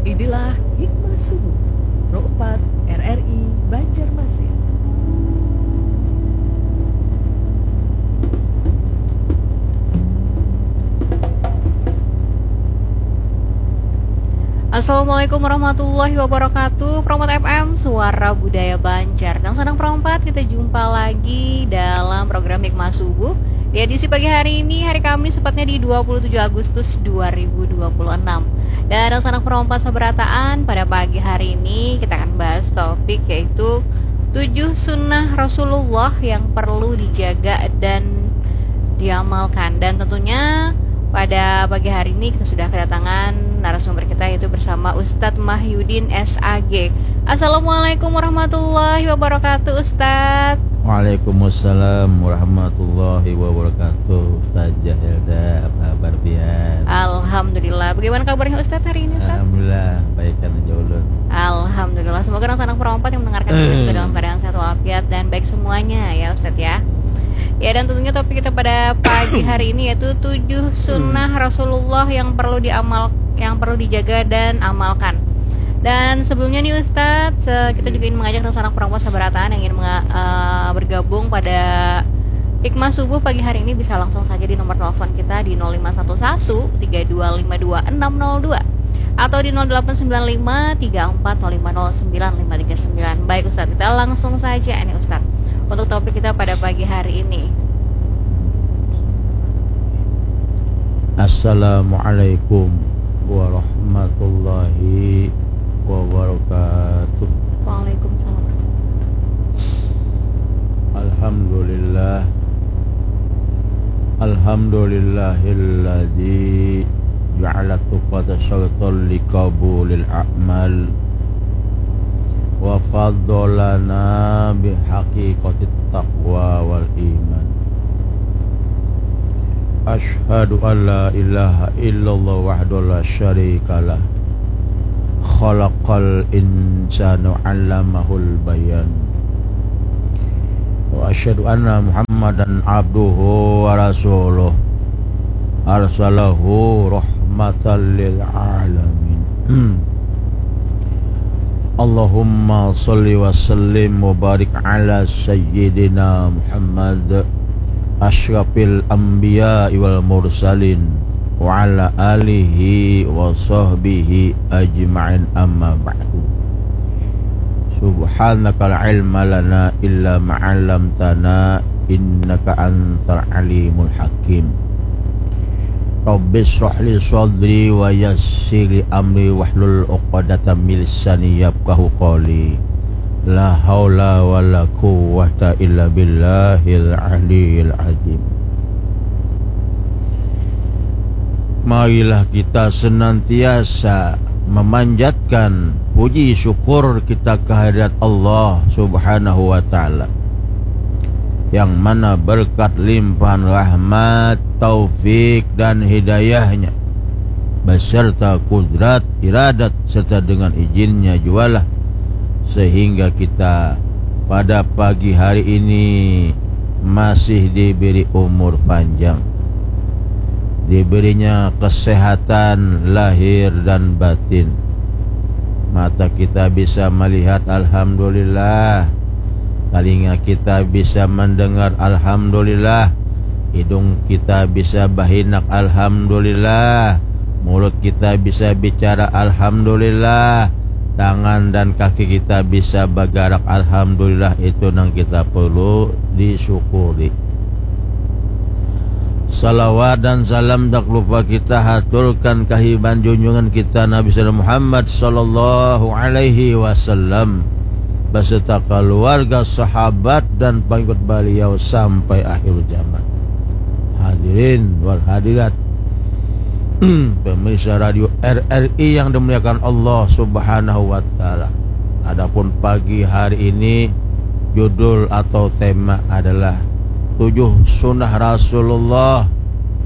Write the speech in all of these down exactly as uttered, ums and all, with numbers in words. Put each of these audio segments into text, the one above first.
Inilah Hikmah Subuh, Pro empat R R I Banjarmasin. Assalamualaikum warahmatullahi wabarakatuh. Pro empat F M, suara budaya Banjar. Dangsanak Pro empat, kita jumpa lagi dalam program Hikmah Subuh di edisi pagi hari ini, hari Kamis, tepatnya di dua puluh tujuh Agustus dua ribu dua puluh enam. Dan dangsanak Pro empat sabarataan, pada pagi hari ini kita akan bahas topik, yaitu tujuh sunnah Rasulullah yang perlu dijaga dan diamalkan. Dan tentunya pada pagi hari ini kita sudah kedatangan narasumber kita, yaitu bersama Ustadz Mahyudin, S A G. Assalamualaikum warahmatullahi wabarakatuh, Ustadz. Waalaikumsalam warahmatullahi wabarakatuh. Ustazah Helda, apa kabar pian? Alhamdulillah. Bagaimana kabarnya Ustadz hari ini, Ustadz? Alhamdulillah, baikan aja ulun. Alhamdulillah. Semoga dangsanak Pro empat yang mendengarkan kita juga dalam keadaan sehat walafiat dan baik semuanya ya, Ustadz, ya. Ya, dan tentunya topik kita pada pagi hari ini yaitu tujuh sunnah Rasulullah yang perlu diamal, yang perlu dijaga dan amalkan. Dan sebelumnya nih, Ustadz, se-, kita juga ingin mengajak dangsanak Pro empat sabarataan yang ingin menga-, eh, bergabung pada Hikmah Subuh pagi hari ini bisa langsung saja di nomor telepon kita di nol lima satu satu, tiga dua lima dua, enam nol dua atau di nol delapan sembilan lima, tiga empat nol lima nol sembilan lima tiga sembilan. Baik, Ustadz, kita langsung saja nih, Ustadz, untuk topik kita pada pagi hari ini. Assalamualaikum warahmatullahi wabarakatuh. Waalaikumsalam. Alhamdulillah. Alhamdulillahilladzi ja'ala tuqata syartan liqabulil a'mal wa faddalana bihaqiqatit taqwa wal iman. Asyhadu an la ilaha illallah wahdahu la syarikalah. Khalaqal insana wa 'allamahul bayan. Wa asyhadu anna Muhammadan abduhu wa rasuluh. Arsalahu rahmatan lil alamin. Allahumma shalli wa sallim wa barik ala sayyidina Muhammad asyrafil anbiya wal mursalin wa ala alihi wa sahbihi ajma'in, amma ba'du. Subhanaka la ilma lana illa ma 'allamtana innaka antal alimul hakim. Rabbi shrah li sadri wa yassir li amri wahlul 'uqdatam min lisani yafqahu qawli. La haula wala quwwata illa billahil aliyil azim. Marilah kita senantiasa memanjatkan puji syukur kita kehadirat Allah Subhanahu wa Ta'ala, yang mana berkat limpahan rahmat, taufik, dan hidayahnya, beserta kudrat, iradat, serta dengan izinnya jualah, sehingga kita pada pagi hari ini masih diberi umur panjang, diberinya kesehatan lahir dan batin. Mata kita bisa melihat, alhamdulillah. Talinga kita bisa mendengar, alhamdulillah. Hidung kita bisa bahinak, alhamdulillah. Mulut kita bisa bicara, alhamdulillah. Tangan dan kaki kita bisa bagarak, alhamdulillah. Itu nang kita perlu disyukuri. Salawat dan salam tak lupa kita haturkan kahiban junjungan kita Nabi Muhammad sallallahu alaihi wasallam beserta keluarga, sahabat, dan pengikut beliau sampai akhir zaman. Hadirin wal hadirat, pemirsa radio R R I yang dimuliakan Allah Subhanahu wa Ta'ala. Adapun pagi hari ini, judul atau tema adalah tujuh sunnah Rasulullah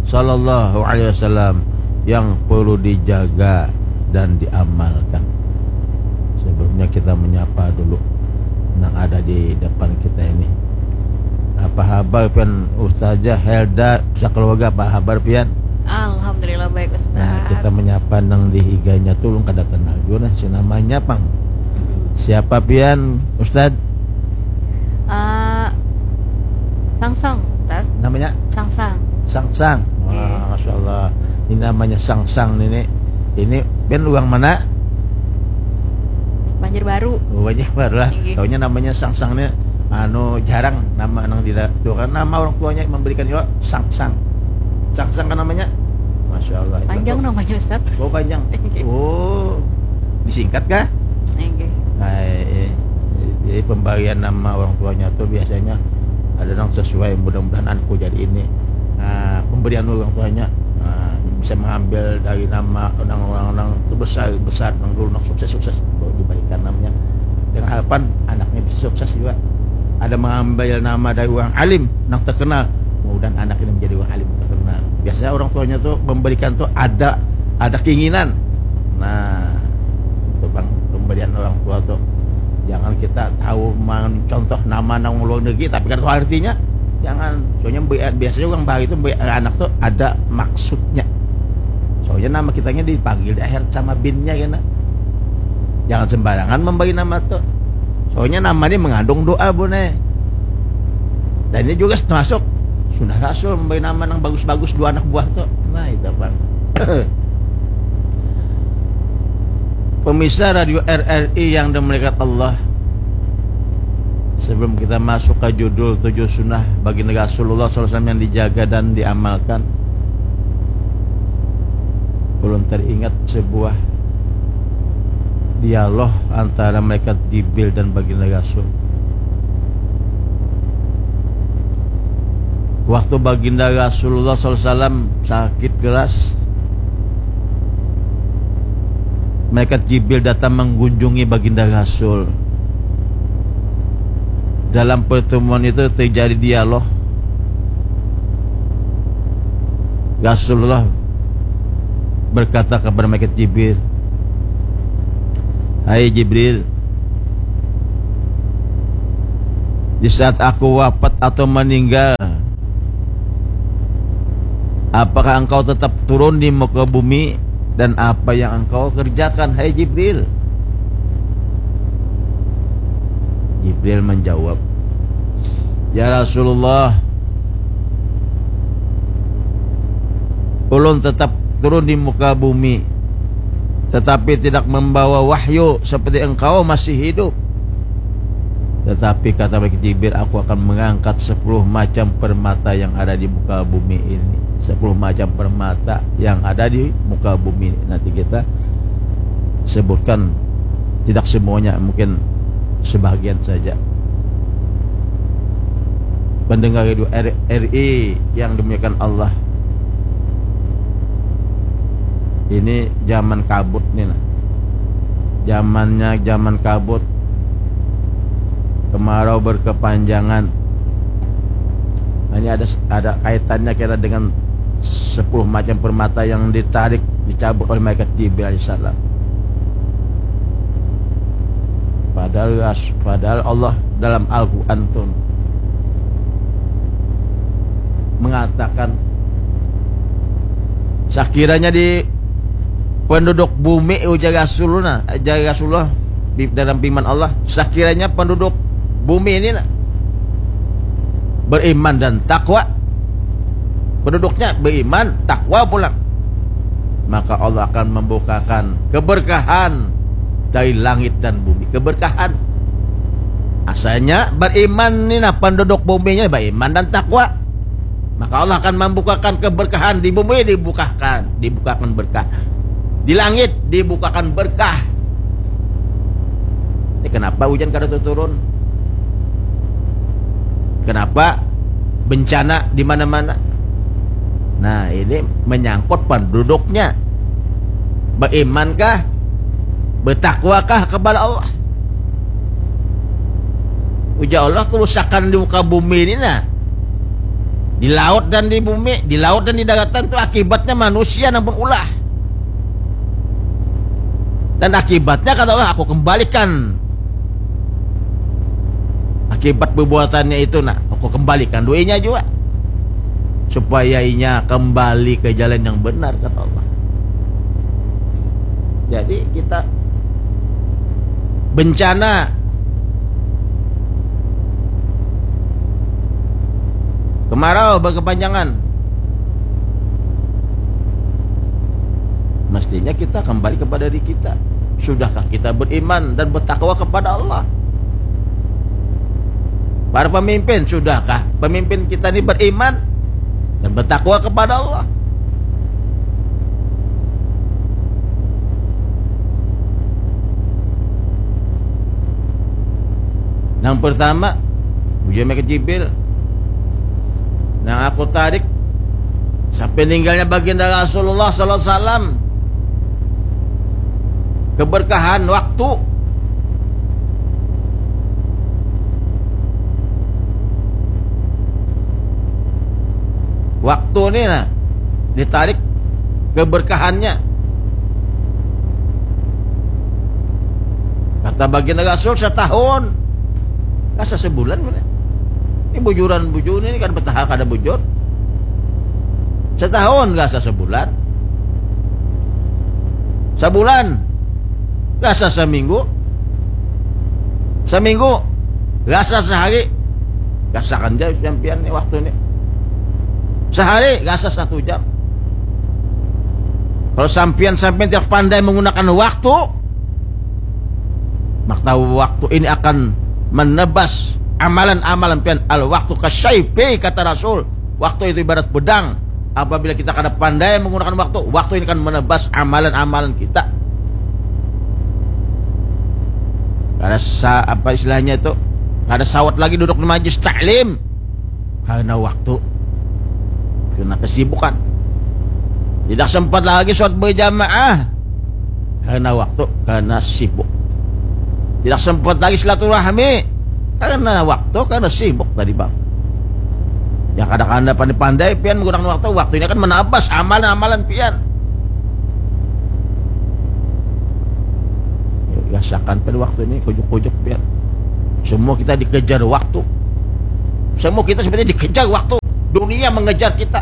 sallallahu alaihi wasallam yang perlu dijaga dan diamalkan. Sebelumnya kita menyapa dulu yang ada di depan kita ini. Apa habar pian, Ustazah Helda, sekeluarga, apa habar pian? Alhamdulillah baik, Ustaz. Nah, kita menyapa nang di higanya tu ulun kada kenal jua nah si namanya pang. Siapa pian, Ustaz? Eh, Sangsang, Ustaz. Namanya Sangsang. Sangsang. Wah, Iya. Masya Allah. Ini namanya Sangsang ini. Ini pian urang mana? Banjarbaru. Oh, banyak baru lah. Iya. Taunya namanya Sangsang ni anu jarang nama nang di tu kan nama orang tuanya memberikan juga Sangsang. Sangsang kan namanya? Masya Allah. Panjang Itu. Namanya, Ustaz. Oh, panjang. Iya. Oh, disingkat kah? Iya. Nah, eh, jadi pemberian nama orang tuanya tuh biasanya ada yang sesuai, mudah-mudahan anakku jadi ini. Nah, pemberian orang tuanya, nah, bisa mengambil dari nama orang-orang itu besar, besar, yang dulu yang sukses-sukses, baru diberikan namanya dengan harapan anaknya bisa sukses juga. Ada mengambil nama dari orang alim yang terkenal, mudah-mudahan anak ini menjadi orang alim terkenal. Biasanya orang tuanya tuh memberikan tuh ada ada keinginan. Nah, itu bang, pemberian orang tua tuh jangan kita tahu mencontoh nama nang luar negeri tapi kada tahu artinya. Jangan. Soalnya bi- biasanya orang bahari itu bi- anak tuh ada maksudnya. Soalnya nama kitanya dipanggil di akhir sama binnya kena. Jangan sembarangan memberi nama tuh. Soalnya nama ini mengandung doa, Bune. Dan ini juga termasuk sunnah Rasul memberi nama yang bagus-bagus dua anak buah tuh. Nah, itu bang. Pemirsa Radio R R I yang dimuliakan Allah, sebelum kita masuk ke judul tujuh sunnah baginda Rasulullah sallallahu alaihi wasallam yang dijaga dan diamalkan, ulun teringat sebuah dialog antara malaikat Jibril dan baginda Rasul. Waktu baginda Rasulullah sallallahu alaihi wasallam sakit keras, malaikat Jibril datang mengunjungi baginda Rasul. Dalam pertemuan itu terjadi dialog. Rasulullah berkata kepada malaikat Jibril, "Hai Jibril, di saat aku wafat atau meninggal, apakah engkau tetap turun di muka bumi dan apa yang engkau kerjakan, hai Jibril?" Jibril menjawab, "Ya Rasulullah, ulun tetap turun di muka bumi, tetapi tidak membawa wahyu seperti engkau masih hidup. Tetapi," kata malaikat Jibril, "aku akan mengangkat sepuluh macam permata yang ada di muka bumi ini. Sepuluh macam permata yang ada di muka bumi ini." Nanti kita sebutkan tidak semuanya, mungkin sebahagian saja. Pendengar Radio R- R I yang dimuliakan Allah, ini zaman kabut nih nah. Zamannya zaman kabut, kemarau berkepanjangan. Nah, ini ada ada kaitannya kira dengan sepuluh macam permata yang ditarik, dicabut oleh malaikat Jibril alaihissalam. Padahal ras- padahal Allah dalam Al-Quran tuh mengatakan, sakiranya di penduduk bumi, ujar Rasulullah, ujar Rasulullah di dalam firman Allah, sakiranya penduduk bumi ini nah, beriman dan takwa, penduduknya beriman, takwa pulang, maka Allah akan membukakan keberkahan dari langit dan bumi. Keberkahan. Asalnya beriman ni nah, penduduk buminya beriman dan takwa. Maka Allah akan membukakan keberkahan di bumi, dibukakan, dibukakan berkah. Di langit dibukakan berkah. Ini kenapa hujan kada turun? Kenapa bencana di mana-mana? Nah, ini menyangkut penduduknya. Berimankah? Bertakwakah kepada Allah? Ujar Allah, kerusakan di muka bumi ini nah, di laut dan di bumi, di laut dan di daratan itu akibatnya manusia namun ulah. Dan akibatnya, kata Allah, aku kembalikan akibat perbuatannya itu nah, aku kembalikan duitnya juga. supaya inya kembali ke jalan yang benar, kata Allah. Jadi kita bencana, kemarau berkepanjangan, mestinya kita kembali kepada diri kita. Sudahkah kita beriman dan bertakwa kepada Allah? Para pemimpin, sudahkah pemimpin kita ini beriman dan bertakwa kepada Allah? Yang pertama, ujar mereka Jibril, yang aku tarik sampai meninggalnya baginda Rasulullah sallallahu alaihi wasallam, keberkahan waktu. Waktu ni nah ditarik keberkahannya. Kata baginda Rasul, setahun, rasa sebulan mana? Ini bujuran bujur ini kan betahal kada bujur. Setahun rasa sebulan. Sebulan rasa seminggu. Seminggu rasa sehari. Rasakan ja sampian ni waktu ni. Sehari rasa satu jam. Kalau sampian, sampian tidak pandai menggunakan waktu, maka waktu ini akan menebas amalan-amalan pian. Al waktu kasaifi, kata Rasul. Waktu itu ibarat pedang. Apabila kita kada pandai menggunakan waktu, waktu ini akan menebas amalan-amalan kita. Kada sa-, apa istilahnya itu? Kada sawat lagi duduk di majlis taklim karena waktu, karena kesibukan. Tidak sempat lagi sholat berjamaah karena waktu, karena sibuk. Tidak sempat lagi silaturahmi karena waktu, karena sibuk tadi, Bang. Ya, kadang-kadang pandai-pandai pian menggunakan waktu. Waktu ini akan menabas amalan-amalan pian. Ya, rasakan pada waktu ini, kujuk-kujuk pian. Semua kita dikejar waktu. Semua kita sebenarnya dikejar waktu. Dunia mengejar kita.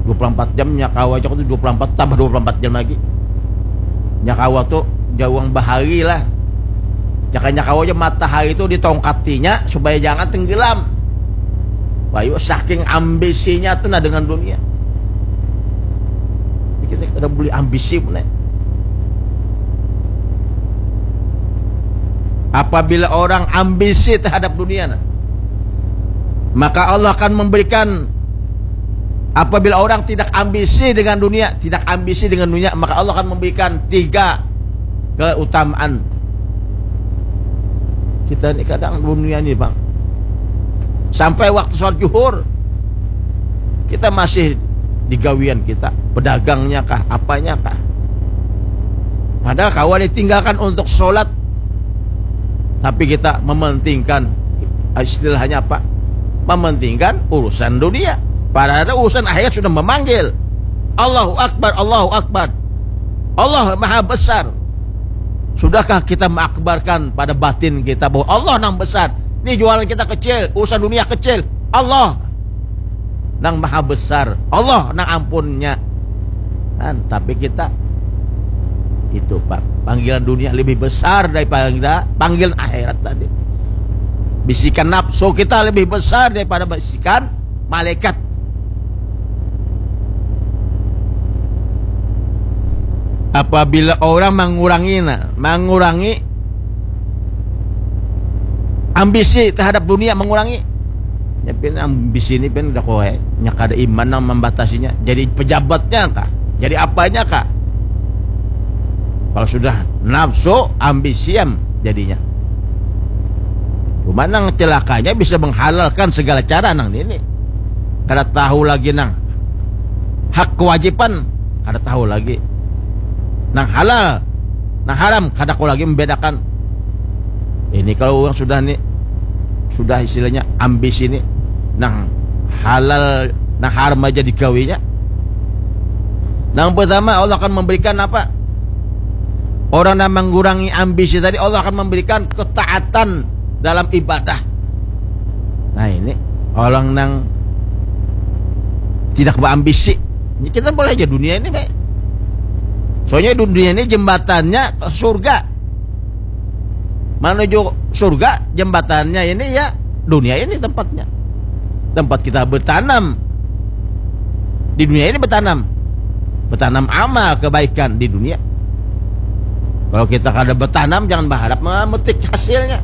Dua puluh empat jam, nya kawa aja tuh dua puluh empat tambah dua puluh empat jam lagi. Nya kawa tuh jauang bahari lah. Jaka nya kawa aja matahari itu ditongkatinya supaya jangan tenggelam. Bayu saking ambisinya tuh nah dengan dunia. Kita kada boleh ambisi pun, eh. Apabila orang ambisi terhadap dunia, nah, maka Allah akan memberikan, apabila orang tidak ambisi dengan dunia, tidak ambisi dengan dunia, maka Allah akan memberikan tiga keutamaan. Kita ni kadang dunia ni, Bang. Sampai waktu sholat juhur, kita masih digawian kita, pedagangnya kah, apanya kah. Padahal kawa ditinggalkan untuk sholat, tapi kita mementingkan, istilahnya apa? Mementingkan urusan dunia. Padahal urusan akhirat sudah memanggil. Allahu Akbar, Allahu Akbar. Allah maha besar. Sudahkah kita mengakbarkan pada batin kita bahwa Allah nang besar? Ini jualan kita kecil, urusan dunia kecil. Allah nang maha besar, Allah nang ampunnya. Kan, tapi kita itu, Pak, panggilan dunia lebih besar daripada panggilan akhirat tadi. Bisikan nafsu kita lebih besar daripada bisikan malaikat. Apabila orang mengurangi, nah, mengurangi ambisi terhadap dunia, mengurangi. Ya, pian ambisi ini pian udah kowe, nya kada iman nang membatasinya. Jadi pejabatnya kah? Jadi apanya kah? Kalau sudah nafsu, ambisi am jadinya. Cuma nang celakanya bisa menghalalkan segala cara nang ini. Kada tahu lagi nang hak kewajiban, kada tahu lagi. Nang halal, nang haram, kada tahu lagi membedakan. Ini kalau orang sudah ni, sudah istilahnya ambisi ni, nang halal, nang haram aja digawinya. Nang pertama, Allah akan memberikan apa? Orang yang mengurangi ambisi tadi, Allah akan memberikan ketaatan dalam ibadah. Nah, ini orang nang tidak berambisi. Ini kita boleh aja dunia ini baik. Soalnya dunia ini jembatannya ke surga. Menuju surga jembatannya ini ya dunia ini tempatnya. Tempat kita bertanam. Di dunia ini bertanam. Bertanam amal kebaikan di dunia. Kalau kita kada bertanam, jangan berharap memetik hasilnya.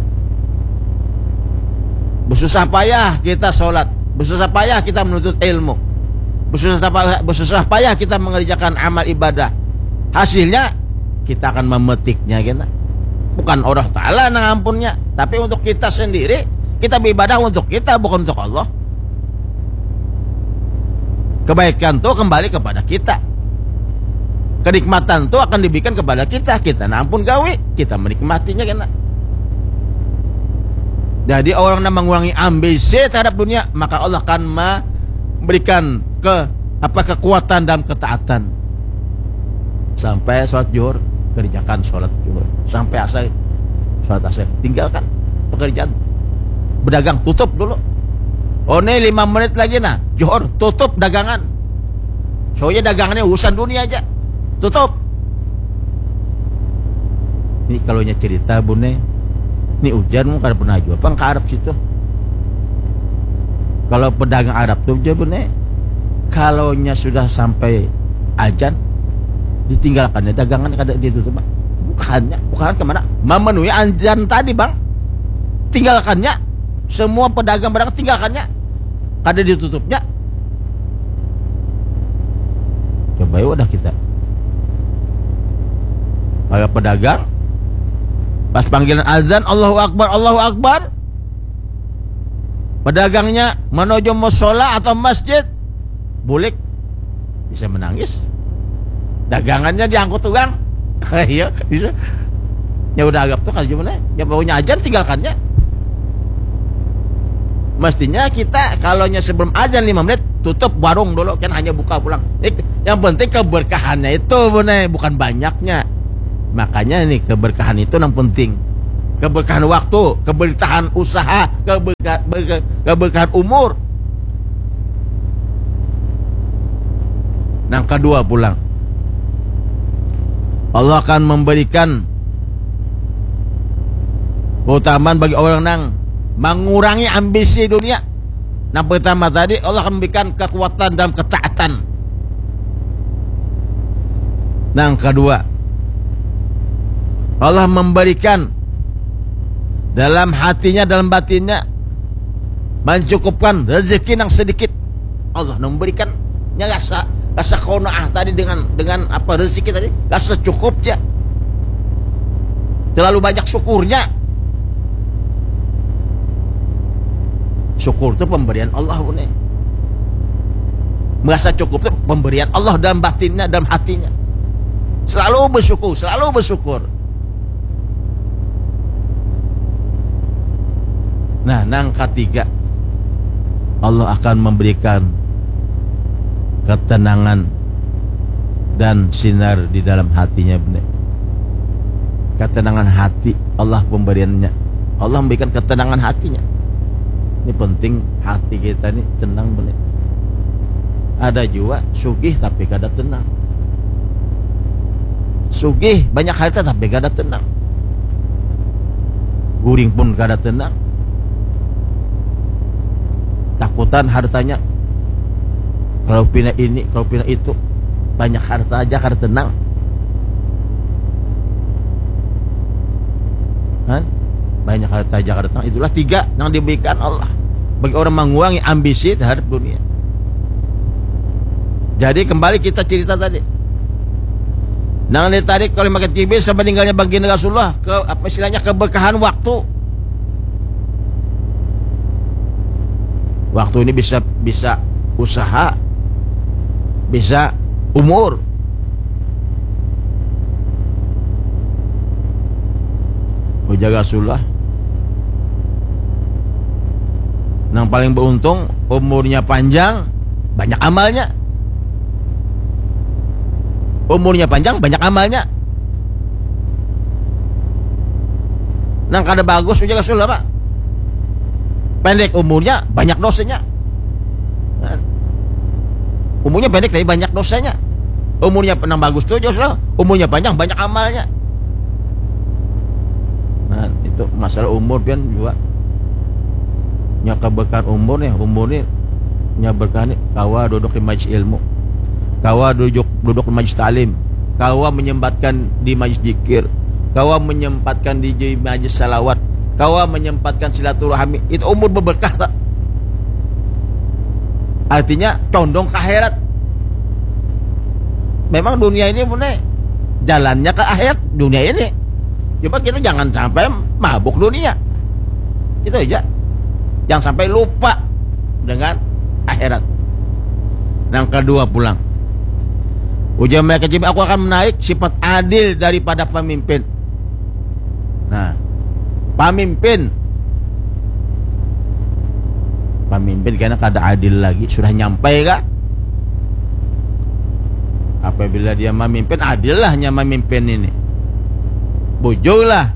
Bersusah payah kita sholat, bersusah payah kita menuntut ilmu, bersusah payah, bersusah payah kita mengerjakan amal ibadah. Hasilnya kita akan memetiknya kena. Bukan Allah Ta'ala nang ampunnya, tapi untuk kita sendiri. Kita beribadah untuk kita, bukan untuk Allah. Kebaikan tu kembali kepada kita. Kenikmatan tu akan diberikan kepada kita. Kita nang ampun gawi, kita menikmatinya kena. Jadi orang yang mengurangi ambisi terhadap dunia, maka Allah akan memberikan ke apa kekuatan dalam ketaatan. Sampai sholat juhur, kerjakan sholat juhur. Sampai asar, sholat asar, tinggalkan pekerjaan. Berdagang, tutup dulu. Oh, ini lima menit lagi nah, juhur, tutup dagangan. Soalnya dagangannya urusan dunia aja. Tutup. Ini kalau nya cerita, Bune. Ini ujar, mun kada pernah jua pang ka Arab situ. Kalau pedagang Arab tuh, Bune, kalau nya sudah sampai ajan, ditinggalkannya dagangan, kada ditutup, Pak. Bukannya, bukan kemana? Memenuhi ajan tadi, Bang. Tinggalkannya. Semua pedagang barang tinggalkannya. Kada ditutupnya. Coba ya wadah kita. Para pedagang, pas panggilan azan, "Allahu Akbar, Allahu Akbar." Pedagangnya menuju musola atau masjid, bulik, bisa menangis. Dagangannya diangkut orang. Iya, bisa. Ya udah, anggap tuh kalau gimana? Ya pokoknya ajan, tinggalkannya. Mestinya kita kalau nya sebelum ajan lima menit, tutup warung dulu, kan hanya buka pulang. Eh, yang penting keberkahannya itu, Bune, bukan banyaknya. Makanya ini keberkahan itu yang penting. Keberkahan waktu, keberkahan usaha, keberka-, berke-, keberkahan umur. Nang kedua pulang, Allah akan memberikan keutamaan bagi orang nang mengurangi ambisi dunia. Nang pertama tadi, Allah akan memberikan kekuatan dalam ketaatan. Nang kedua, Allah memberikan dalam hatinya, dalam batinnya, mencukupkan rezeki nang sedikit. Allah memberikan, nya rasa, rasa qanaah tadi dengan, dengan apa, rezeki tadi, rasa cukup ja. Terlalu banyak syukurnya. Syukur tu pemberian Allah, Bune. Merasa cukup tu pemberian Allah dalam batinnya, dalam hatinya. Selalu bersyukur, selalu bersyukur. Nah, nang katiga, Allah akan memberikan ketenangan dan sinar di dalam hatinya, Bune. Ketenangan hati, Allah pemberiannya. Allah memberikan ketenangan hatinya. Ini penting, hati kita ini tenang, Bune. Ada jua sugih tapi kada tenang. Sugih, banyak harta tapi kada tenang. Guring pun kada tenang. Takutan hartanya. Kalau pina ini, kalau pina itu. Banyak harta aja kada tenang. Kan? Banyak harta aja kada tenang. Itulah tiga yang diberikan Allah bagi orang mengurangi ambisi terhadap dunia. Jadi kembali kita cerita tadi. Nang ditarik oleh Makan T V sama meninggalnya baginda Rasulullah ke apa istilahnya, keberkahan waktu. Waktu ini bisa, bisa usaha, bisa umur. Ujar Rasulullah, nang paling beruntung umurnya panjang, banyak amalnya. Umurnya panjang, banyak amalnya. Nang kada bagus, ujar Rasulullah, Pak. Pendek umurnya, banyak dosanya. Kan? Umurnya pendek tapi banyak dosanya. Umurnya nang bagus tuh, jos lah. Umurnya panjang, banyak amalnya. Nah, itu masalah umur pian juga. Nya keberkahan umur nih, umur nih nya berkah nih, kawa duduk di majlis ilmu. Kawa duduk duduk di majlis taklim. Kawa menyempatkan di majlis zikir. Kawa menyempatkan di, di majlis salawat. Kawa menyempatkan silaturahmi. Itu umur berberkah tak? Artinya condong ke akhirat. Memang dunia ini punya jalannya ke akhirat dunia ini. Cuma kita jangan sampai mabuk dunia. Itu aja. Jangan sampai lupa dengan akhirat. Yang kedua pulang. Ujar mereka, "Aku akan menarik sifat adil daripada pemimpin." Nah, pemimpin. Pemimpin kena kada adil lagi, sudah nyampai kah? Apabila dia memimpin, adil lah nya memimpin ini. Bujur lah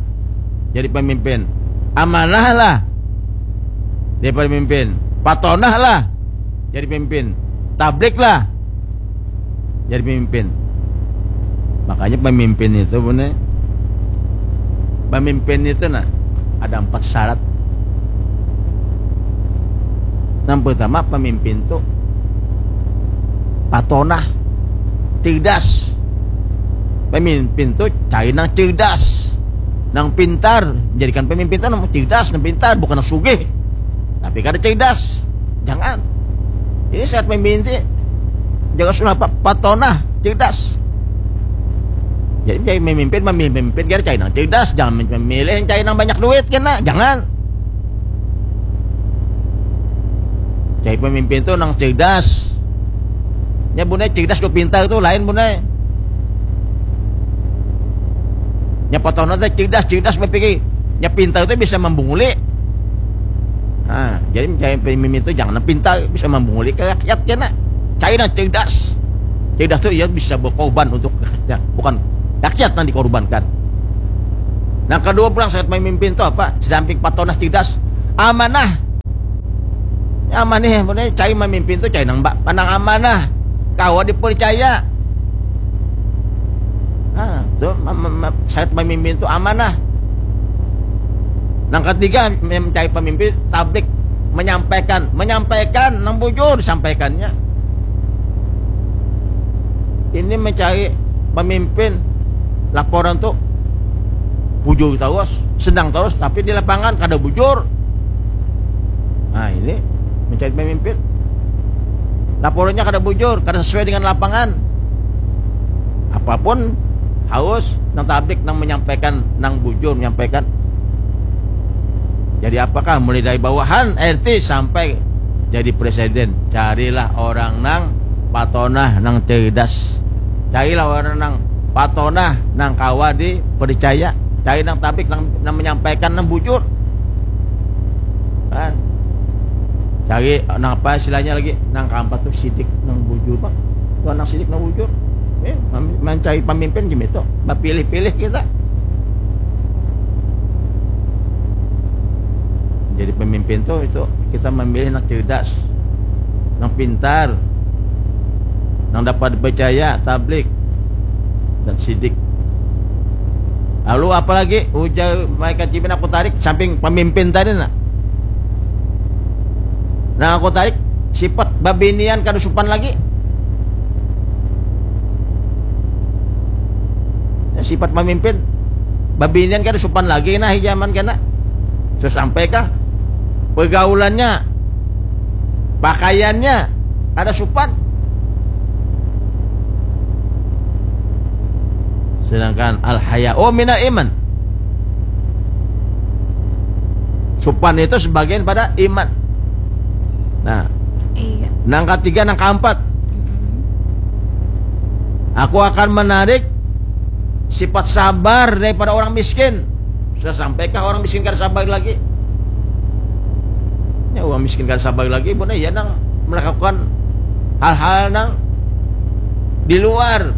jadi pemimpin. Amanah lah jadi pemimpin. Patonah lah jadi pemimpin. Tablik lah jadi pemimpin. Makanya pemimpin itu punya, pemimpin itu nah ada empat syarat. Yang pertama, pemimpin tuh patonah, cerdas. Pemimpin tuh cari nang cerdas, nang pintar. Jadikan pemimpin tuh nang cerdas, nang pintar, bukan nang sugih. Tapi kada cerdas, jangan. Ini syarat pemimpin tuh jaga sunnah, pa- patonah, cerdas. Jadi cari memimpin, memimpin kira cari nang cerdas, jangan memilih yang cari nang banyak duit kena, jangan. Cari pemimpin tuh nang cerdas. Nya bunai cerdas dua pintar tuh lain bunai. Nya patonah tuh cerdas, cerdas berpikir. Nya pintar tuh bisa membunguli. Nah, jadi mencari pemimpin itu jangan pintar, bisa membunguli ke rakyat kena. Cari nang cerdas. Cerdas tuh ia bisa berkorban untuk rakyatnya, bukan rakyat yang dikorbankan. Nah, kedua pulang syarat pemimpin itu apa? Di samping patonah cerdas, amanah. Amanah, ya, cari memimpin tuh cari nang ba- nang amanah. Kawa dipercaya. Nah, itu mem- mem- syarat pemimpin itu amanah. Nang ketiga, mencari pemimpin tablik, menyampaikan, menyampaikan nang bujur disampaikannya. Ini mencari pemimpin laporan tuh bujur terus, sedang terus, tapi di lapangan kada bujur. Nah, ini mencari pemimpin. Laporannya kada bujur, kada sesuai dengan lapangan. Apapun harus nang tablik nang menyampaikan, nang bujur menyampaikan. Jadi apakah mulai dari bawahan R T sampai jadi presiden? Carilah orang nang patonah, nang cerdas. Carilah orang nang patonah, nang kawa dipercaya. Cari nang tablik nang, nang menyampaikan nang bujur. Kan? Cari nang apa istilahnya lagi? Nang keempat tuh sidik nang bujur, Pak. Tuh nang sidik nang bujur. Eh, mem- mencari pemimpin gitu. Pilih-pilih kita. Jadi pemimpin tuh itu kita memilih nang cerdas, nang pintar, nang dapat dipercaya, tablik, dan sidik. Lalu apalagi ujar malaikat Jibril, aku tarik samping pemimpin tadi nah. Nah, aku tarik sifat babinian kada supan lagi. Ya, sifat pemimpin babinian kada supan lagi nah zaman kena. Terus sampai kah pergaulannya, pakaiannya ada supan. Sedangkan al haya, oh, mina iman. Supan itu sebagian pada iman. Nah, iya. Nang ketiga, nang keempat, aku akan menarik sifat sabar daripada orang miskin. Sudah sampaikah orang miskin kada sabar lagi? Ya, orang miskin kada sabar lagi, bukan ya nang melakukan hal-hal nang di luar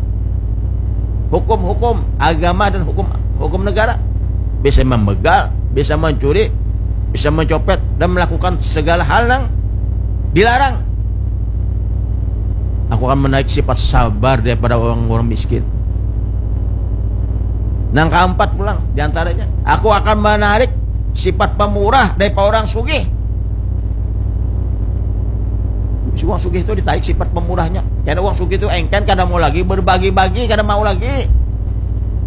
hukum-hukum agama dan hukum hukum negara. Bisa membegal, bisa mencuri, bisa mencopet dan melakukan segala hal yang dilarang. Aku akan menarik sifat sabar daripada orang-orang miskin. Nang keempat pulang diantaranya, aku akan menarik sifat pemurah daripada orang sugih. Si orang sugih itu ditarik sifat pemurahnya. Karena orang sugih itu engken, kada mau lagi berbagi-bagi, kada mau lagi.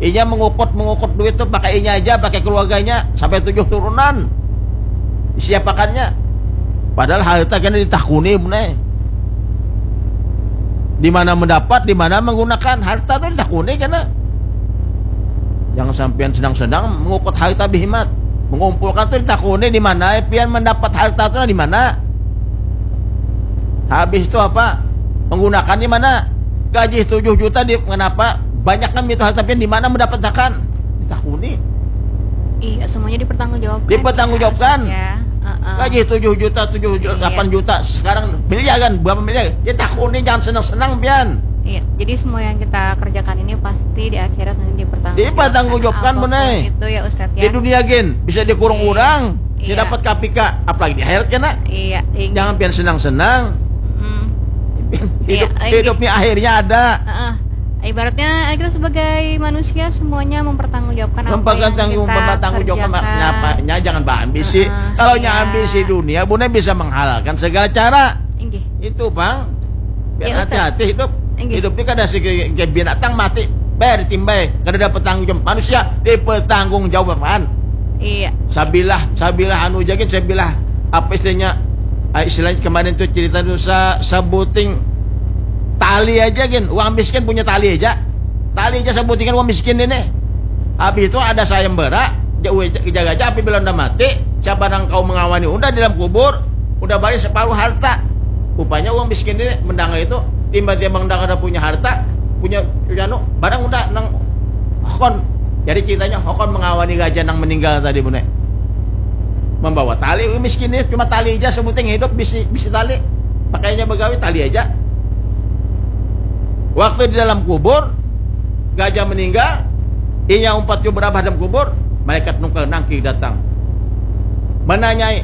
Inya mengukut-mengukut duit tuh pakai inya aja, pakai keluarganya, sampai tujuh turunan. Disiapakannya. Padahal harta kena ditakuni, benar. Di mana mendapat, di mana menggunakan harta tuh ditakuni kena. Jangan sampean sedang-sedang mengukut harta bihimat. Mengumpulkan tuh ditakuni di mana, eh, pian mendapat harta tuh di mana. Habis itu apa? Menggunakan di mana? Gaji tujuh juta di, kenapa? Banyak kan itu harta pian, di mana mendapatkan? Ditakuni. Iya, semuanya dipertanggungjawabkan. Dipertanggungjawabkan. Ya, heeh. Gaji tujuh juta, tujuh juta, Iya. delapan juta. Sekarang miliaran, berapa miliar? Ditakuni, jangan senang-senang pian. Iya, jadi semua yang kita kerjakan ini pasti di akhirat nanti dipertanggungjawabkan. Dipertanggungjawabkan, Apapun Bune. Itu ya, Ustadz, ya. Di dunia gin bisa dikurung Iya. orang, Iya. dia dapat K P K, apalagi di akhirat kena. Iya, iya. Jangan pian senang-senang. Mm. Hidup, Iya, iya. Hidup ni akhirnya ada. Heeh. Ibaratnya, eh, kita sebagai manusia semuanya mempertanggungjawabkan apa yang Mempertanggung- kita mempertanggungjawabkan kerjakan. Kenapanya, jangan berambisi. Heeh, Kalau iya. Nya ambisi dunia, Bune bisa menghalalkan segala cara. Inggih. Itu, Bang. Biar Ya, Ustaz. Hati-hati hidup. Inggih. Hidup ini kada si kayak binatang mati. Bayar timbai, kada dapat tanggung jawab. Manusia dipertanggung jawab apaan? Iya. Sabilah, sabilah anu jagin, sabilah apa istilahnya? Ah, istilahnya kemarin tuh cerita tuh sa, sabuting tali aja gin. Uang miskin punya tali aja. Tali aja sabutingan uang miskin ini. Habis itu ada sayembara, ja- jaga aja apabila udah mati, siapa nang kau mengawani udah di dalam kubur, udah bari separuh harta. Rupanya uang miskin ini mendengar itu, tiba-tiba mendengar ada punya harta, punya, punya anu, barang udah nang hokon. Jadi ceritanya hokon mengawani raja nang meninggal tadi, Bune. Membawa tali, uang miskin ini cuma tali aja sebuting hidup bisi bisi tali. Pakainya begawi tali aja. Waktu di dalam kubur, raja meninggal, inya umpat jua berabah dalam kubur, malaikat nungkar nangkir datang. Menanyai,